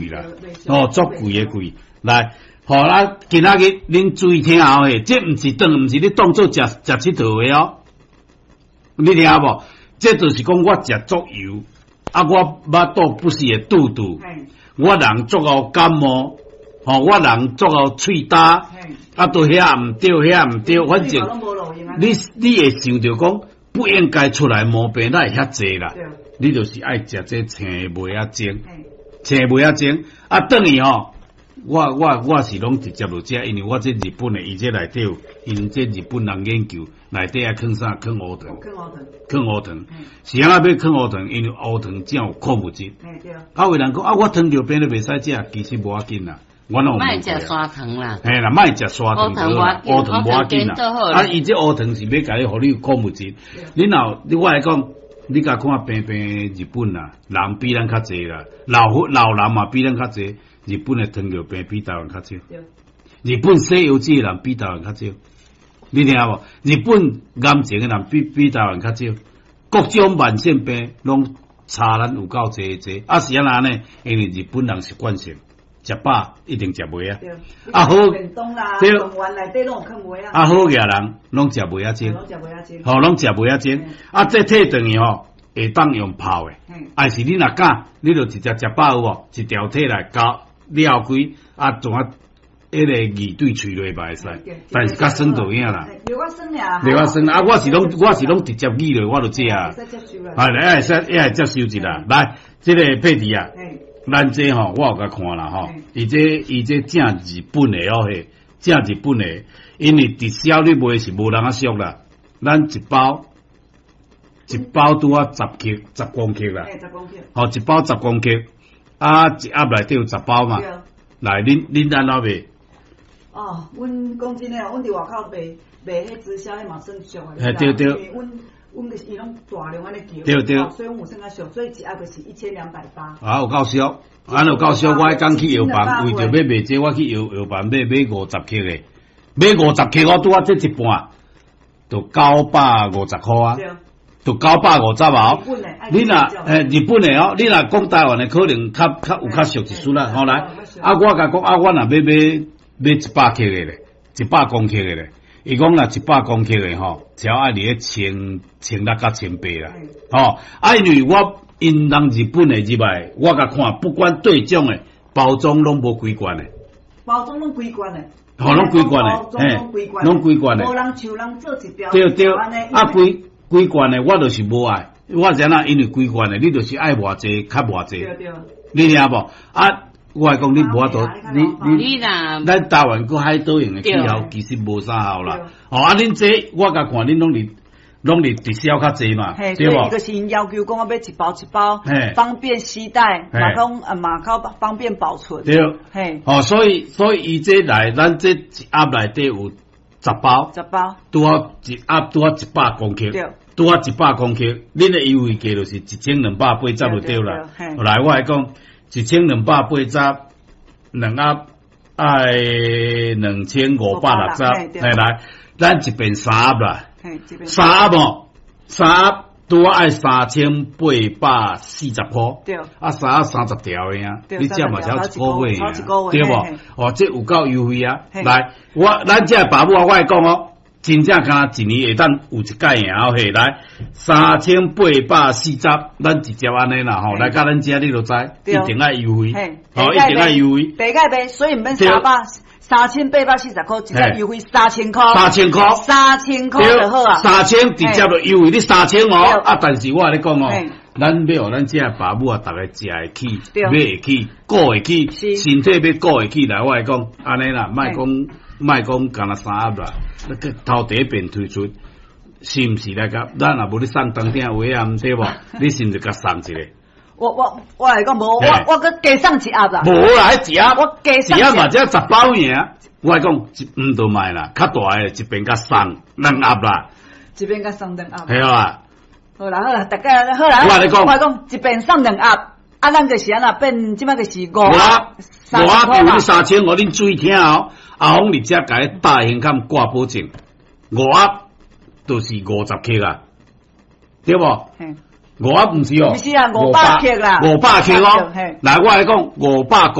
貴啦，哦，足貴的貴。來，好啦，今仔日恁注意聽後嘿，這毋是當，毋是你當做食食𨑨迌的哦。你聽無？這就是講我食足油，啊，我腹肚不時會肚肚，我人足𠢕感冒，吼，我人足𠢕喙焦，啊，都遐毋對，遐毋對，反正你會想著講不應該出來毛病，哪會遐濟啦？你就是愛食這青麥仔精，青麥仔精，啊，轉去吼，我是攏直接落食，因為我這日本的，伊這內底有，𪜶這日本人研究內底愛囥啥？囥烏糖，囥烏糖，是按怎欲囥烏糖？因為烏糖才有礦物質。啊，有人講啊，我糖尿病都袂使食，其實無要緊啦。我攏莫食砂糖啦，嘿啦，莫食砂糖，烏糖無要緊啦。啊，伊這烏糖是欲共你，予你有礦物質。你若你我來講，你共看平平日本啦，人比咱較濟啦，老老人嘛比咱較濟。日本的糖尿病比台灣較少。日本洗腰子的人比台灣較少。你聽無？日本癌症的人比台灣較少，各種慢性病攏差咱有夠濟濟。啊是按怎呢？因為日本人習慣性食飽一定食麥仔。啊好，對，啊好額人攏食麥仔精，吼攏食麥仔精。啊這退轉去吼，會當用泡的，還是你若敢，你就直接食飽有無？一條提來咬了開，啊怎啊？彼個味對喙內嘛會使，但是較酸就有影啦。有較酸爾，有較酸啊！我是攏直接咬落，我就食啊。係來，會使會接受一下。來，這個佩蒂啊，咱這吼我有共看啦吼，伊這正日本的哦嘿，正日本的，因為直銷你賣是無人仔俗啦，咱一包一包拄仔10克10公克啦，吼一包十公克，啊一盒內底有十包嘛，來恁按怎賣？哦，阮講真的，阮佇外口賣賣彼直銷，彼嘛算俗的。嘿對對。因為阮阮就是伊攏大量按呢叫，所以阮有算較俗，所以一盒就是1280。啊，有夠俗，按有夠俗，我彼工去藥房，為著欲賣這個，我去藥藥房買買50克的，買五十克，我拄仔這一半，就950塊啊，就九百五十哦。你若日本的哦，你若講台灣的，可能較較有較俗一絲啦。好來，啊，我共講啊，我若欲買買100克的咧，100公克的咧，伊講若一百公克的吼，只要愛佇咧千千六佮千八啦，吼，啊，因為我𪜶人日本的入來，我共看，不管對種的包裝攏無規罐的，包裝攏規罐的，吼，攏規罐的，嘿，攏規罐的，無人像人做一條，對對，啊，規規罐的我就是無愛，我知影因為規罐的，你就是愛偌濟較偌濟，你聽無？啊。我來講，你無法度，你你，咱台灣閣海島型的氣候，其實無啥效啦。哦，啊，恁這我共看，恁攏佇攏佇直銷較濟嘛，對無？伊就是𪜶要求講，欲買一包一包，方便攜帶，嘛講啊嘛較方便保存。對，哦，所以伊這來，咱這一盒內底有十包，十包，拄好一盒拄好100公克，拄好一百公克，恁的優惠價就是1280就對啦。來，我來講。1280兩盒愛2560，來來，咱一邊三盒啦，三盒哦，三盒拄仔愛3840塊，啊三盒30條的啊，你這嘛才一個月爾，對無？哦，這有夠優惠啊！來，我咱這爸母啊，我來講哦，真正敢一年會當有一擺爾嘿，來3840，咱直接按呢啦吼，來到咱遮你就知，一定愛優惠，吼，一定愛優惠。第擺賣，所以毋免三百3840塊，直接優惠三千塊，三千塊，三千塊就好啊。三千直接就優惠你三千哦，啊！但是我共你講哦，咱欲予咱遮爸母啊，逐个食會起，買會起，顧會起，身體欲顧會起來，我來講按呢啦，莫講莫講，干焦三盒啦，那個頭第一遍推出，是毋是來共？咱若無咧送當鼎話啊，毋對無？你是毋是共送一个？我來講無，我閣加送一盒啦。無啦，彼一盒，我加送一盒嘛，才十包爾。我來講，毋著賣啦，較大个一遍共送兩盒啦。一遍共送兩盒。係啊。好啦好啦，大家好啦。我共你講，我講一遍送兩盒，啊，咱就是按怎變，這擺就是五盒。五盒有你三千五，恁注意聽哦。阿峰佇遮共你大胸坎掛保證，五盒就是50克啊，對無？五盒毋是哦，毋是啊，500克啦，五百克哦。來，我來講五百公。